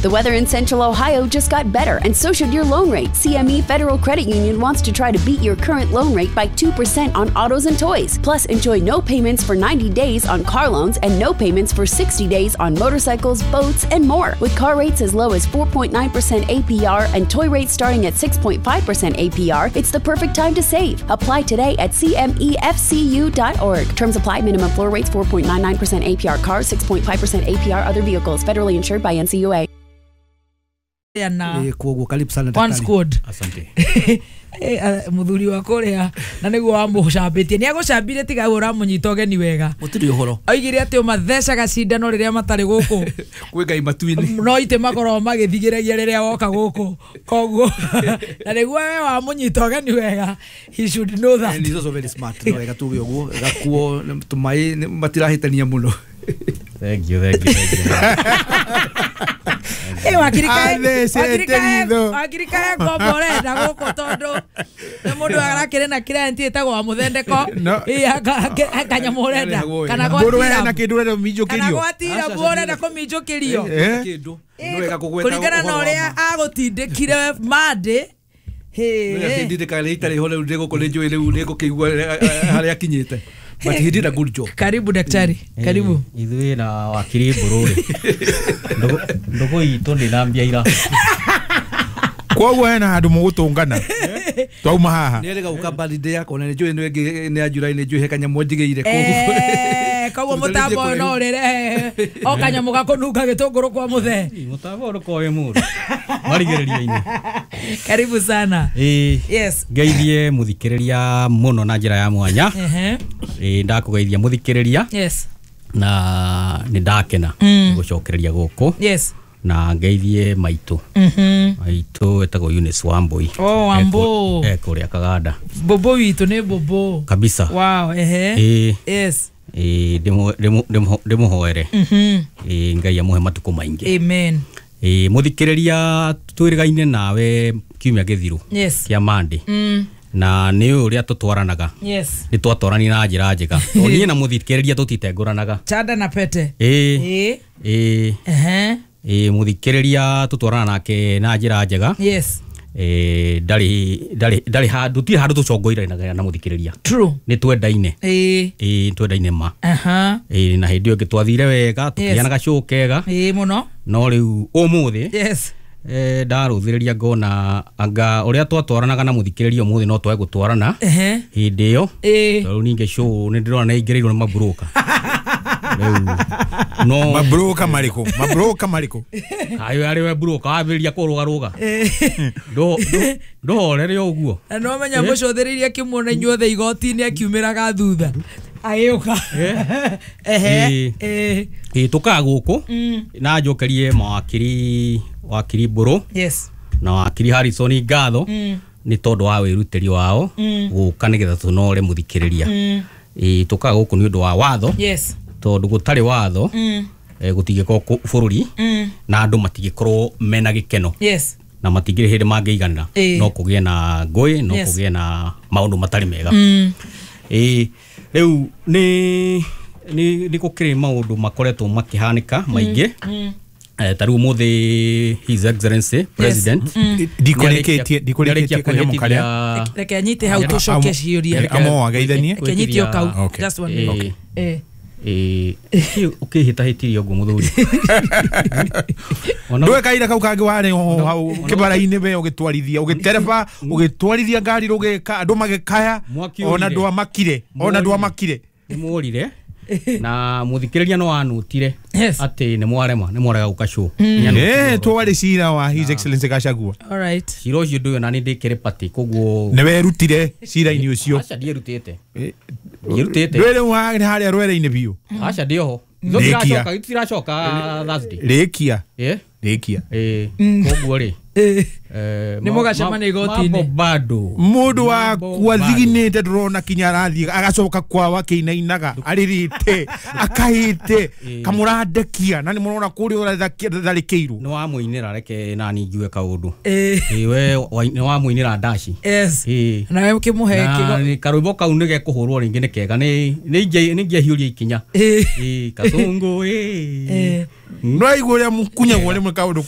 The weather in Central Ohio just got better, and so should your loan rate. CME Federal Credit Union wants to try to beat your current loan rate by 2% on autos and toys. Plus, enjoy no payments for 90 days on car loans and no payments for 60 days on motorcycles, boats, and more. With car rates as low as 4.9% APR and toy rates starting at 6.5% APR, it's the perfect time to save. Apply today at cmefcu.org. Terms apply. Minimum floor rates 4.99% APR cars, 6.5% APR other vehicles. Federally insured by NCUA. Na Koguo karibu sana one daktari. squad. Asante. Muthuri wa kuria na niguo wamucambĩtie nĩ agũcambire tiga ũramũnyita ũgeni wega. Gũtirĩ ũhoro. Oigire atĩ ũmathecaga cindano rĩrĩa matarĩ gũkũ. Kwĩ Ngai matu-inĩ. No itĩ makorwo magĩthigĩragia rĩrĩa woka gũkũ, koguo na nĩguo we wamũnyita ũgeni wega, he should know that. And he's also very smart. No wega tuge ũguo gakuo tũmaĩ matirahĩtania mũno. Thank you, thank you, thank you. Wakirikae ngombo ũrenda gũkũ tondũ nĩ mũndũ arakĩrĩ na client ĩtagwo wa mũthendeko kanyamũ ũrenda kana na kĩndũ ũrenda kũminjũkĩrio, kana gwatira ũrenda kũminjũkĩrio kũringana na ũrĩa agũtindĩkire Monday. Ndindĩkaga itarĩ ho rĩu ndĩgũkũ nĩ njũĩ rĩu nĩngũkĩigua harĩa akinyĩte. But he did a good job. Karibu daktari. Karibu. Ithuĩ na wakiri Mbũrũ rĩ, ndũgũ itũ ndĩnambia ira. Koguo hena handũ mũgũtũngana twauma haha. Nĩ erĩga gũka birthday yakwa na nĩ njũĩ nĩ ĩngĩ nĩ ya July, nĩ njũĩ he kanyamũ njigĩire koguo. Koguo mũtambo ũyũ no ũrĩrehe o kanyamũ gakũnunga gĩtũngũrũ kwa mũthee. Mũtambo ũyũ ndũkoe mũndũ marigĩrĩria-inĩ. Karibu sana. Yes. Ngeithie mũthikĩrĩria mũno na njĩra ya mwanya. Ndakũgeithia mũthikĩrĩria. Yes. Na nĩ ndakena gũcokereria gũkũ. Yes. Na ngeithie maitũ. Maitũ etagwo Eunice Wambui. Oh, Wambo. Kũrĩa Kaganda. Bobo witũ nĩ bobo. Kabisa. Wow, ehe. Yes. Ndĩmũhoere. Ngai amũhe matukũ maingĩ. Amen. Mũthikĩrĩria twĩrĩgaine nawe kiumia gĩthiru. Yes. Kĩa Monday. Na nĩ ũrĩa tũtwaranaga. Yes. Nĩ twatwarani na njĩra njega. Niĩ na mũthikĩrĩria tũtitengũranaga. Chanda na pete. Mũthikĩrĩria tũtwarana nake na njĩra njega. Yes. Ndarĩ handũ tirĩ handũ tũcongoiranaga na mũthikĩrĩria. True. Nĩ twendaine. Twendaine ma. Na hĩndĩ ĩyo ĩngĩ twathire wega tũkĩgĩa na gacũũ kega. Mũno. No rĩu ũmũthĩ. Yes. Ndarũthĩrĩria ngona anga ũrĩa twatwaranaga na mũthikĩrĩria ũmũthĩ no twage gũtwarana hĩndĩ ĩyo. Tondũ ningĩ show nĩ ndĩrona nĩ ingĩrĩirwo nĩ maburũka. No mabroka mariko, mabroka mariko. Ayo ari we broka wambĩrĩria kũrũgarũga. Ndũhorere ũguo. Na no menya mũcũthĩrĩria kĩmuona inyuothe igoti-inĩ akiumĩraga thutha. Agĩũka. Tũkaga gũkũ na njokerie mawakiri, wakiri Mbũrũ. Yes. Na wakiri Harrison ngatho nĩ tondũ wa wĩrutĩri wao gũka nĩgetha tũnore mũthikĩrĩria. Tũkaga gũkũ nĩ ũndũ wa watho. Yes. Tondũ gũtarĩ watho gũtingĩkorwo bũrũri na andũ matingĩkorwo mena gĩkeno. Yes. Na matingĩrĩ hĩndĩ mangĩiganĩra no kũgĩe na ngũĩ, no kũgĩe na maũndũ matarĩ mega. Rĩu nĩ gũkĩrĩ maũndũ makoretwo makĩhanĩka maingĩ. Ta rĩu ũmũthĩ His Excellency President ndikũrĩkĩtie kanyamũ karĩa. Reke anyite hau tũcoke ciũria. Amo ageithanie. Reke anyite o kau. Just one minute. Ũkĩhĩtahĩtirie ũguo mũthuri. Ndũĩ kaira kau kangĩ warĩ hau kĩbara-inĩ we ũgĩtwarithia ũgĩtereba ũgĩtwarithia ngari rũgĩka andũ magĩkaya ona ndwamakire, ona ndwamakire. Nĩmworire na mũthikĩrĩria no anutire atĩ nĩ mwarema nĩ mwarega gũka show. Twarĩ cira wa His Excellency Gachagua. All right. Cira ũcio ndũĩ ona nĩ ndĩkĩrĩ party koguo nĩ werutire cira-inĩ ũcio. Aca ndierutĩte. Ndierutĩte. Ndũĩ rĩu harĩa rwere-inĩ biũ. Aca ndĩ oho. Tũtiracoka Thursday. Rĩkia. Rĩkia. Koguo rĩ. Nĩ mũgacemania igoti-inĩ. Bado mũndũ wakwa thiginĩte ndũrona kinya arathiĩ agacoka kwao akĩinainaga arĩrĩte akahĩte kamũrandekia na nĩ mũrona kũrĩa ũratharĩkĩirwo. Nĩ wamũinĩra reke nani njigue kaũndũ. We nĩ wamũinĩra ndaci. Yes. Nawe ũkĩmũhe karwĩmbo kau nĩ gekũhũrwo rĩngĩ nĩ kega nĩ ingĩahiũria ikinya. Kasongo. No aigua ũrĩa mũkunyagwo rĩmwe kaũndũ kau.